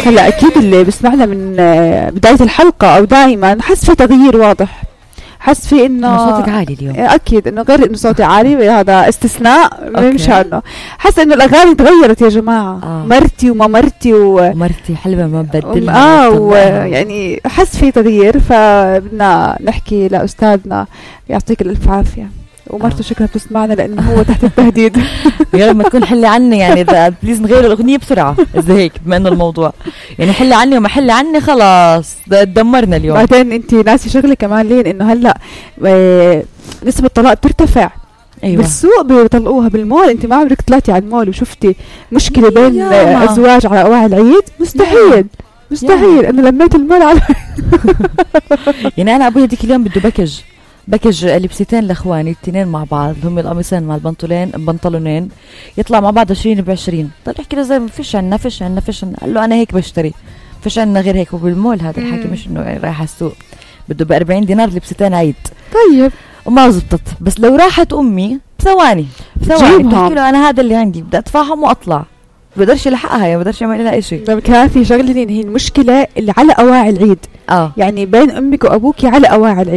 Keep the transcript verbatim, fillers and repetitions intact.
هلا اكيد اللي بسمعنا من بدايه الحلقه او دائما حس في تغيير واضح، حس في انه صوتك عالي اليوم. اكيد انه غير انه صوتي عالي هذا استثناء مش عنه، حس انه الاغاني تغيرت يا جماعه. آه. مرتي وما مرتي و... مرتي حلوه ما بدلها. اه ويعني حس في تغيير، فبدنا نحكي لاستاذنا يعطيك الالف عافيه ومرته. شكرا بتسمعنا لانه هو تحت التهديد. يا لما تكون حلي عني يعني اذا بليز نغير الاغنيه بسرعه اذا هيك، بما انه الموضوع يعني حلي عني وما حلي عني خلاص تدمرنا اليوم. بعدين انت ناسي شغله كمان لين انه هلا اه نسبه الطلاق بترتفع. أيوة. بالسوق بيطلقوها، بالمول انت ما عمرك طلعتي على المول وشفتي مشكله بين ازواج على اواعي العيد؟ مستحيل مستحيل. انا لميت المول على يعني انا ابوي هذيك اليوم بده بكج بكج لبستين لاخواني الاثنين مع بعض، هم القميصين مع البنطلون بنطلونين يطلع مع بعض عشرين بعشرين. طلع يحكي له زي ما فيش عنا فيش عنا فيش عنا. قال له انا هيك بشتري، فيش عنا غير هيك. وبالمول هذا الحكي مش انه رايح على السوق، بده ب أربعين دينار لبستين عيد. طيب وما زبطت. بس لو راحت امي ثواني ثواني بتحكي له انا هذا اللي عندي بدي ادفعهم واطلع، بقدرش يلحقها، يعني بقدرش يعمل لها شيء. طيب كافي شغله هي المشكله اللي على اواعي العيد. اه يعني بين امك وابوك على اواعي العيد.